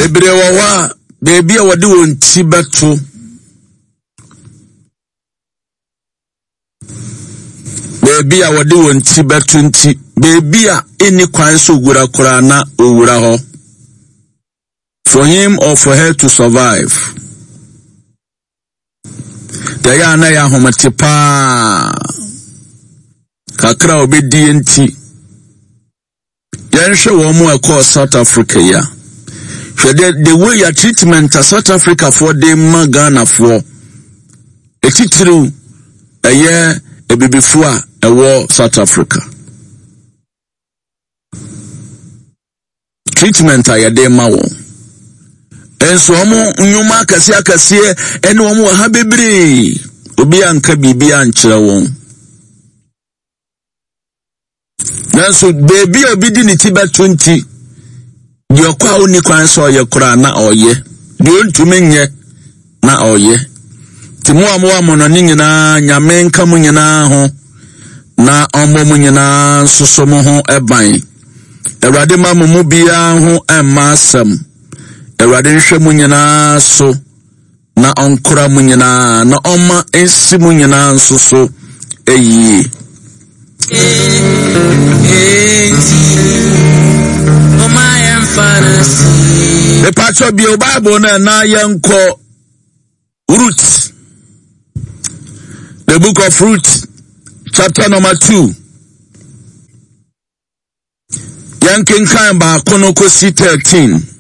Bebree wɔ hɔ a, baabi a wɔde wɔn ti bɛto baabi a wɔde wɔn ti bɛto nti, baabi a ɛnni kwan sɛ owura koraa na owura hɔ. For him or for her to survive. Deɛ ɛyɛ a na ɛyɛ ahomete paa. Kakra a ɔbɛdie nti. Yɛnhwɛ wɔn mu a ɛkɔɔ South Africa yi a. Hwɛ the, the way ya treatment a South Africa foɔ de ma Ghana foɔ. Etitiriw ɛyɛ abibifoɔ a ɛwɔ South Africa. Treatment a yɛde ma wɔn. Nso wɔn nnwuma akɛseɛ akɛseɛ ɛne wɔn wɔ ha bebree. Obi anka biribi ankyerɛ wɔn. Nanso beebi a obi de ne ti bɛto nti, deɛ ɔkɔ a ɔnni kwan sɛ ɔyɛ koraa na ɔyɛ, deɛ ɔntumi nyɛ na ɔyɛ. Nti mo a mowɔ amɔnɔne nyinaa, Nyame nka mo nyinaa ho na ɔmmɔ mo nyinaa nso so mo ho ban. Awurade ma mo mu biara ho mma asɛm. Awurade nhwɛ mo nyinaa so. Na ɔnkora mo nyinaa, na ɔmma ensi mo nyinaa nso so yie. Mepakyɛ bio Bible no na yɛnkɔ Ruth. The book of Ruth, chapter number 2. Yɛnkenkan baako no kɔsi 13.